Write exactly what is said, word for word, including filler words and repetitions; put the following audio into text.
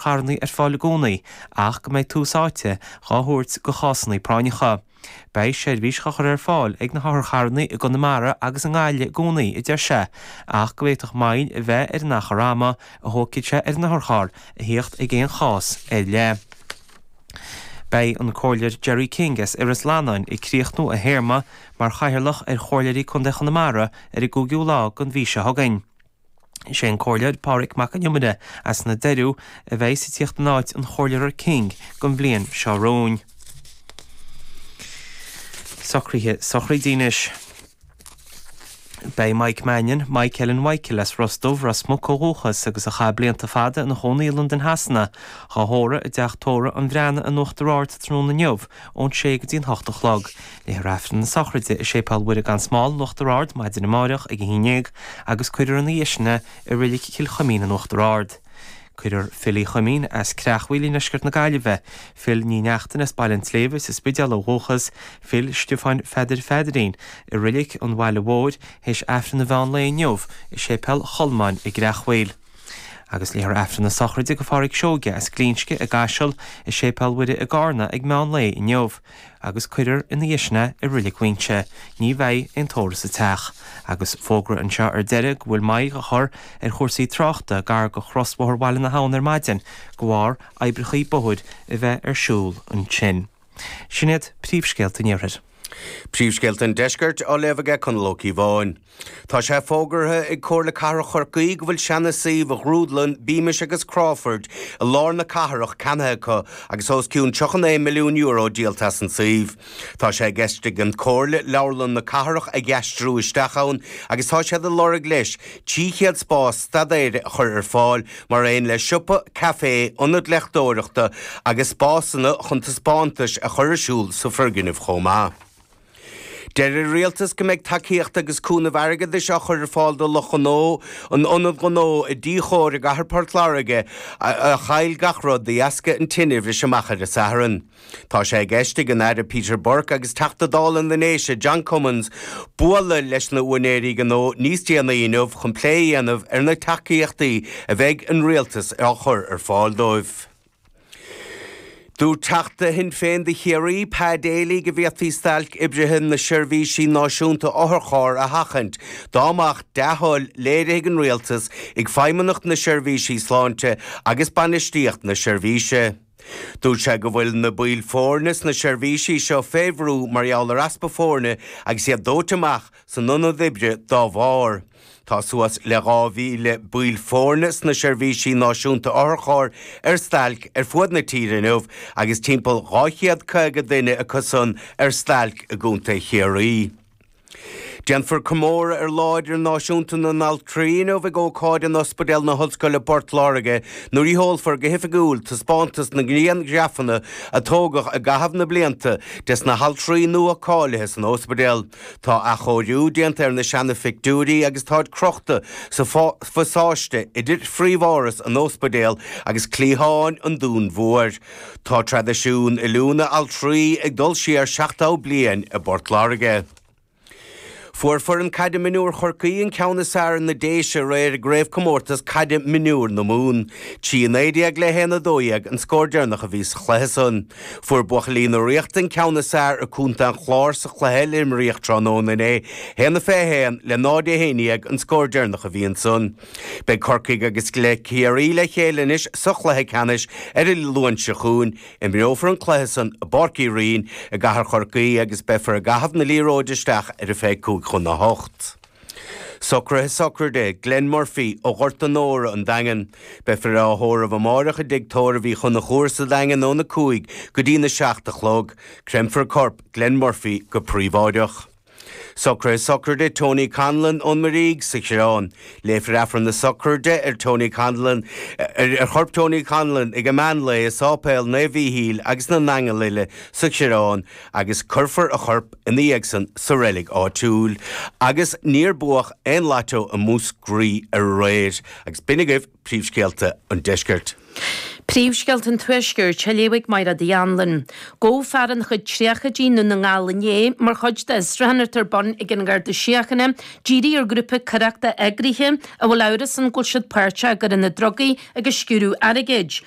otharcharranna ar fáil i gcónaí ach go mbeidh tús áite dhá thabhairt go chásanna práinneacha. Beidh seirbhís á chur ar fáil ag na hotharcharranna i gConamara agus i nGaillimh i gcónaí, a deir sé, ach go bhféadfadh moill a bheith ar an achar ama a thógfaidh sé ar an otharcharr a thíocht ag aon chás ar leith. Beidh an Comhairleoir Jerry King as Iorras Lannáin ag críochnú a théarma mar chathaoirleach ar Chomhairleoirí Contae Chonamara ar an gcúigiú lá den mhí seo chugainn. Is é an Comhairleoir Pádraig Mac an Iomaire as na Doiriú a bheidh ag tíocht in áit an Chomhairleora King don bhliain seo romhainn. Socruithe sochraide anois. Beidh Mike Mannion, Mike Ellen Mhichael as Ros Dubh, Ros Muc ó dhúchas agus a chaith blianta fada ina chónaí i Londain Shasana, dhá thórramh i dteach tórraimh an Bhreathnaigh in Uachtar Ard tráthnóna inniu ón sé go dtí an hocht a chlog. Léifear Aifreann na sochraide i Séipéal Mhuire gan Smál in Uachtar Ard maidin amárach ag a haon déag agus cuirfear ina dhiaidh sin é i Reilig Chill Chuimín in Uachtar Ard. Cuirfear Phil Uí Chuimín as Creachmhaoil i ndeisceart na Gaillimhe, Phil Ní Neachtain as Baile an tSléibhe sa Spidéal ó dhúchas, Phil Stiofáin Pheadair Pheadairín i Reilig an Bhaile Mhóir théis Aifreann an mheán lae inniu i Séipéal Cholmáin i gCreachmhaoil. Agus léifear Aifreann na sochraide go Pháraic Seoige as Glinsce i gCaiseal i Séipéal Mhuire i gCarna ag meán lae inniu agus cuirfear ina dhiaidh sin é i Reilig Mhuinseo. Ní bheidh aon tórramh sa teach. Agus fógra anseo ar deireadh go bhfuil moill á chur ar chúrsaí tráchta gar go chrosbhóthar Bhaile na hAbhann ar maidin de bharr oibreacha bóthair a bheith ar siúl ansin. Sin iad príomhscéalta an iarthair. Príomhscéalta an deiscirt á léamh aige Conall Ó Cíobháin. Tá sé fógartha ag Comhairle Cathrach Chorcaí go bhfuil seana-suíomh ghrúdlann Beamish agus Crawford i lár na cathrach ceannaithe acu agus os cionn tríocha naoi milliún euro díolta as an suíomh. Tá sé i gceist ag an Comhairle leabharlann na cathrach a aistriú isteach ann agus tá siad ag lorg leis trí chéad spás staidéir a chur ar fáil mar aon le siopa, caifé, ionad léachtóireachta agus spásanna chun taispeántais a chur ar siúl sa foirgneamh chomh maith. Deir an rialtas go mbeidh tacaíocht agus cúnamh airgeadais á chur ar fáil do lucht gnó an ionad gnó i dTí Chóir i gcathair Port Láirge a chaill gach rud de dheasca an tine a bhris amach ar an Satharn. Tá sé i gceist ag an Aire Peter Burke agus Teachta Dála na nDéise John Cummins bualadh leis na húinéirí gnó níos déanaí inniu chun plé a dhéanamh ar na tacaíochtaí a bheidh an rialtas á chur ar fáil dóibh. Dúirt Teachta Shinn Féin do Chiarraí, Pa Daly go bhféadfaí stailc oibrithe na seirbhísí náisiúnta otharcharr a sheachaint dá mbeadh dea-thoil léirithe ag an rialtas, ag Feidhmeannacht na Seirbhísí Sláinte agus bainistíocht na seirbhíse. Dúirt sé go bhfuil na baill foirne sna seirbhísí seo fé bhrú mar gheall ar easpa foirne agus iad dóite amach san ionad oibre dá bharr. Tá suas le dhá mhíle baill foirne sna seirbhísí náisiúnta otharchairr ar stailc ar fuaid na tíre inniu agus timpeall dhá chéad caoga duine acu san ar stailc i gContae Chiarraí. Déanfar comóradh ar Lá Idirnáisiúnta na nAltraí inniu ag ócáid in Ospidéal na hOllscoile Port Láirge nuair a sheolfar go hoifigiúil taispeántas na ngrianghrafanna a tógadh i gcaitheamh na blianta des na haltraí nua cáilithe san ospidéal. Tá athchóiriú déanta ar na seana-phictiúirí agus táid crochta sa phasáiste idir phríomháras an ospidéil agus cliatháin an Dúin Mhóir. Tá traidisiún oiliúna altraí ag dul siar seachtó bliain i bPort Láirge. Fuair foireann caide mionúir Chorcaí an ceann is fearr ar na Déise aréir i gcraobhchomórtas caide mionúir na Mumhan. Trí a naoi déag le haon a dó dhéag an scór deireanach a bhí sa chluiche san. Fuair buachaillí na Ríochta an ceann is fearr ar Contae an Chláir sa chluiche eile a imríodh tráthnóna inné, haon a fiche a haon le náid a haon déag an scór deireanach a bhí ansan. Beidh Corcaigh agus le Ciarraí le chéile anois sa chluiche ceannais ar an Luan seo chugainn. Imreofar an cluiche san i bPáirc Uí Rinn i gcathair Chorcaí agus beifear ag caitheamh na liathróide isteach ar a fiche cúig chun a hocht. Socruithe sochraide Glenn Murphy ó Ghort an Óra, an Daingean. Beifear á thórramh amáireach i dTigh Tórraimh Uí Chonchúir sa Daingean óna cúig go dtí na seacht a chlog. Créamfar corp Glenn Murphy go príobháideach. Socruithe sochraide Tony Conlon ón Mhuirígh sa Choireán. Léifear Aifreann na sochraide ar Tony Conlon ar chorp Tony Conlon ag an meán lae i Sáipéal Naomh Mhíchíl agus na nAingeal Uile sa Choireán agus cuirfear a chorp ina dhiaidh san sa reilig áitiúil. Agus níor buadh aon lató i Múscraí aréir. Agus b'in agaibh príomhscéalta an deiscirt. Príomhscéalta an Tuaiscirt á léamh ag Máire Uí Anluain. Gabhadh fear ina chuid tríochaidí i nDún na nGall inné mar chuid d'fhiosrúchán atá ar bun ag an nGarda Síochána dírithe ar ghrúpa coireachta eagraithe a bhfuil amhras ann go bhfuil siad páirteach i gcoireanna drugaí agus sciúradh airgid.